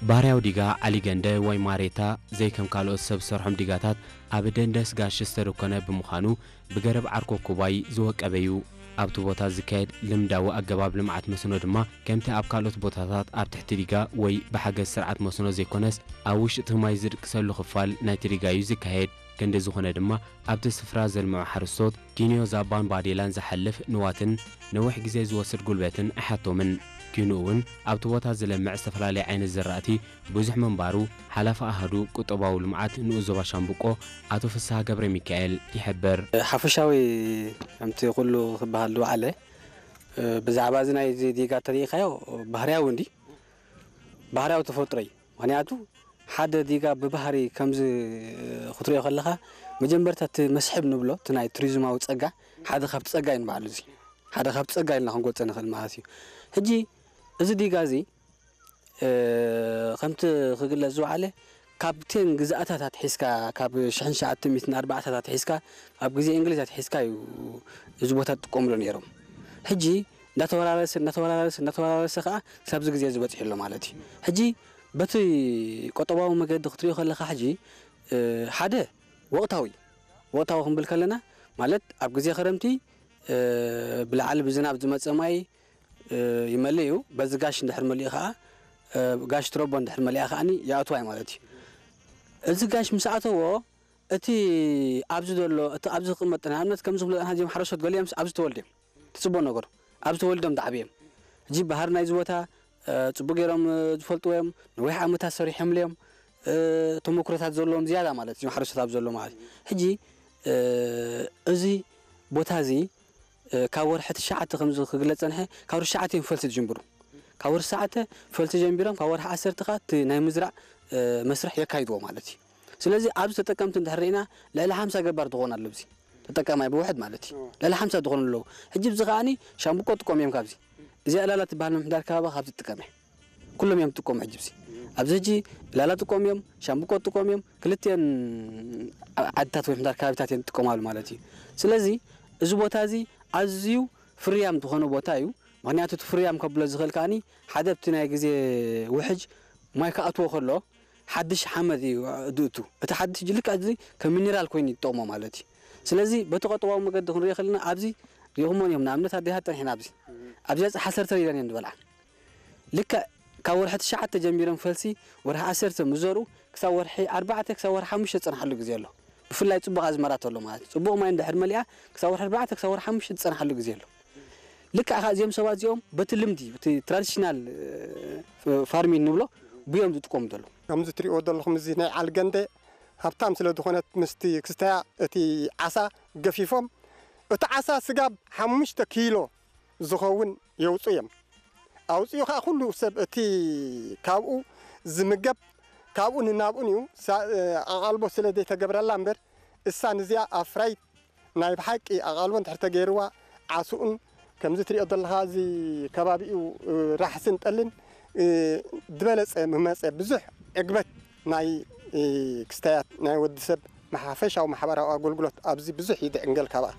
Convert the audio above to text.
ባህርያዊ ዲጋ ዓሊገንደ ወይ ማሬታ ዘይከም ካልኦት ሰብ ዝሰርሖም ዲጋታት ኣብ ደንደስ ጋሽ ዝተደኮነ ብምዃኑ ብገረብ ዓርኮኩባይ ዝወቀበ እዩ። ኣብቲ ቦታ ዝካየድ ልምዳዊ ኣገባብ ልምዓት መስኖ ድማ ከምቲ ኣብ ካልኦት ቦታታት ኣብ ትሕቲ ዲጋ ወይ ብሓገዝ ስርዓት መስኖ ዘይኮነስ ኣብ ውሽጢ እቲ ማይ ዝድቅሰሉ ክፋል ናይቲ ዲጋ እዩ ዝካየድ። ክንዲ ዝኾነ ድማ ኣብቲ ስፍራ ዘልምዑ ሓረስቶት ኪንዮ ዛባን ባዴላን ዝሓልፍ ንዋትን ነዊሕ ግዜ ዝወስድ ጉልበትን ኣይሓቶምን። ኪንኡ እውን ኣብቲ ቦታ ዝለምዕ ዝተፈላለየ ዓይነት ዘራእቲ ብዙሕ ምንባሩ ሓላፊ ኣሃዱ ቁጠባዊ ልምዓት ንኡስ ዞባ ሻምብቆ ኣቶ ፍስሃ ገብረ ሚካኤል ይሕብር። ሓፈሻዊ ከምቲ ኩሉ ክበሃል ዝወዓለ ብዛዕባ እዚ ናይ ዲጋ ተሪኢኻዮ ባህርያዊ እንዲ ባህርያዊ ተፈጥሮ እዩ። ምክንያቱ ሓደ ዲጋ ብባህሪ ከምዚ ክትሪኦ ከለኻ መጀመርታ እቲ መስሕብ ንብሎ እቲ ናይ ቱሪዝማዊ ፀጋ ሓደ ካብቲ ፀጋ እዩ ንባዕሉ እዚ ሓደ ካብቲ ፀጋ ኢልና ክንገልፆ ንኽእል ማለት እዩ። ሕጂ እዚ ዲጋ እዚ ከምቲ ክግለፅ ዝወዓለ ካብተን ግዝኣታት ኣትሒዝካ ካብ ሽሕን ትሽዓተ ሚእትን ኣርባዕታት ኣትሒዝካ ኣብ ግዜ እንግሊዝ ኣትሒዝካ እዩ እዚ ቦታ ትጥቀምሉ ነይሮም። ሕጂ እንዳተወራረሰ እንዳተወራረሰ እንዳተወራረሰ ከዓ ክሳብዚ ግዜ ዝበፅሕ ኣሎ ማለት እዩ። ሕጂ በቲ ቆጠባዊ መገዲ ክትሪኦ ከለካ ሕጂ ሓደ ወቅታዊ ወቅታዊ ክንብል ከለና ማለት ኣብ ግዜ ክረምቲ ብላዕሊ ብዝናብ ዝመፀ ማይ ይመልእ እዩ። በዚ ጋሽ እንድሕር መሊኡ ከዓ ጋሽ ትረቦ እንድሕር መሊኣ ከዓኒ ይኣትዋ እዩ ማለት እዩ። እዚ ጋሽ ምስ ኣተዎ እቲ ኣብዚ ዘሎ እቲ ኣብዚ ዝቕመጥ ንኣብነት ከምዚ ክብሎ ዝፀንሓ እዚኦም ሓረስቶት ገሊኦም ኣብዚ ተወልድዮም ትፅቦ ነገሩ ኣብዚ ተወልዶም ዝዓብዮም ሕጂ ባህር ናይዚ ቦታ ፅቡቅ ገይሮም ዝፈልጥዎ እዮም። ነዊሕ ዓመታት ሰሪሖምሉ እዮም። ተመክሮታት ዘለዎም ዝያዳ ማለት እዮም ሓረስቶት ኣብ ዘሎ ማለት ሕጂ እዚ ቦታ እዚ ካብ ወርሒ ትሽዓተ ከምዚ ክግለፅ ፀንሐ ካብ ወርሒ ትሽዓተ እዮም ፈልሲ ዝጅምሩ ካብ ወርሒ ትሽዓተ ፈልሲ ጀምቢሮም ካብ ወርሒ ዓሰርተ ከዓ እቲ ናይ ምዝራእ መስርሕ የካይድዎ ማለት እዩ። ስለዚ ኣብዚ ተጠቀምቲ እንድሕር ርኢና ልዕሊ ሓምሳ ገባር ዝኾን ኣሎ ኣብዚ ተጠቃማይ ብውሕድ ማለት እዩ ልዕሊ ሓምሳ ዝኾኑ ኣለዉ። ሕጂ ብዚ ከዓኒ ሻምብቆ ጥቀሙ እዮም ካብዚ እዚኣ ዕላላ ትበሃል ምምሕዳር ከባቢ ካብዚ ትጥቀም እያ። ኩሎም እዮም ዝጥቀሙ ሕጂ ብዚ ኣብዚ ሕጂ ዕላላ ጥቀሙ እዮም ሻምብቆ ጥቀሙ እዮም ክልቲአን ዓድታት ወይ ምሕዳር ከባቢታት እየን ዝጥቀማሉ ማለት እዩ። ስለዚ እዚ ቦታ እዚ ኣዝዩ ፍርያም ዝኾነ ቦታ እዩ። ምክንያቱ እቲ ፍርያም ከብሎ ዝኽእል ከዓኒ ሓደ ኣብቲ ናይ ግዜ ውሕጅ ማይ ክኣትዎ ከሎ ሓድሽ ሓመድ እዩ ዝእቱ። እቲ ሓድሽ ሕጂ ልክዕ እዚ ከም ሚኒራል ኮይኑ ይጠቕሞ ማለት እዩ። ስለዚ በቲ ቆጠባዊ መገዲ ክንሪኦ ከለና ኣብዚ ሪኹሞን እዮም ንኣብነት ኣዴታት ፀኒሕና ኣብዚ ኣብዚኣ ፀሓሰርተ ኢለን እየን ዝበልዓ። ልክዕ ካብ ወርሒ ትሽዓተ ጀሚሮም ፈልሲ ወርሒ ዓሰርተ ምስ ዘርኡ ክሳብ ወርሒ ኣርባዕተ ክሳብ ወርሒ ሓሙሽተ ዝፀንሓሉ ግዜ ኣሎ። ብፍላይ ፅቡቕ ኣዝመራ ተሎ ማለት እዩ። ፅቡቕ ማይ እንድሕር መሊኣ ክሳብ ወርሒ ኣርባዕተ ክሳብ ወርሒ ሓሙሽተ ዝፀንሓሉ ግዜ ኣሎ። ልክዕ ከዓ እዚኦም ሰባት እዚኦም በቲ ልምዲ እቲ ትራዲሽናል ፋርሚንግ ንብሎ ብዮም ዝጥቀሙ ዘለዉ። ከምዚ ትሪእዎ ዘለኹም እዚ ናይ ዓልገንደ ሃብታም ስለ ዝኾነት ምስቲ ክስተያ እቲ ዓሳ ገፊፎም እቲ ዓሳ ስጋብ ሓሙሽተ ኪሎ ዝኸውን የውፁ እዮም። ኣውፅኡ ከዓ ኩሉ ሰብ እቲ ካብኡ ዝምገብ ካብኡ ንናብኡን እዩ። ኣቓልቦ ስለ ዘይተገብረላ እምበር እሳ ንዚኣ ኣፍራይት ናይ ብሓቂ ኣቓልቦ እንድሕር ተገይርዋ ዓስኡን ከምዚ ትሪኦ ዘለኻ እዚ ከባቢኡ ራሕስን ጠልን ዝበለፀ ምመፀ ብዙሕ ዕግበት ናይ ክስተያት ናይ ወዲ ሰብ ሓፈሻዊ ማሕበራዊ ኣገልግሎት ኣብዚ ብዙሕ ይድዕንገል ካብኣ።